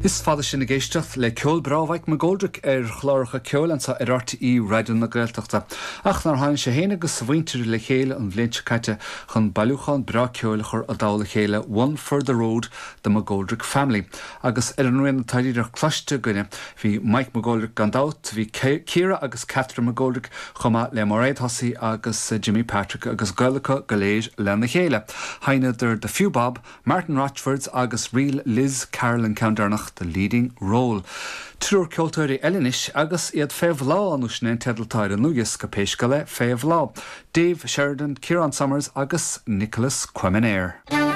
Is fada sinn ag éisteacht le ceol breá Mike McGoldrick ar chláracha ceoil anseo ar RTÉ Raidió na Gaeltachta. Ach nár tháinig sé féin agus a mhuintir le chéile an bhliain seo caite chun bailiúchán breá ceoil a chur i dtoll a chéile, One for the Road, The McGoldrick Family. Agus ar an rian atá díreach cloiste againne, bhí Mike McGoldrick gan dabht, bhí Ciara agus Catherine McGoldrick chomh maith le Mairéad Hussey agus Jimmy Patrick agus gaol acu go léir lena chéile. Sheinneadar The Few Bob, Martin Rochford's agus Ríl Liz Carroll an ceann deireanach, The Leading Role. Triúr ceoltóirí eile anois agus iad fé bhláth, nó sin é an teideal atá ar an ndlúthdhiosca, pé scéal é, Fé Bhláth. Dave Sheridan, Ciarán Somers agus Nicholas Quemener.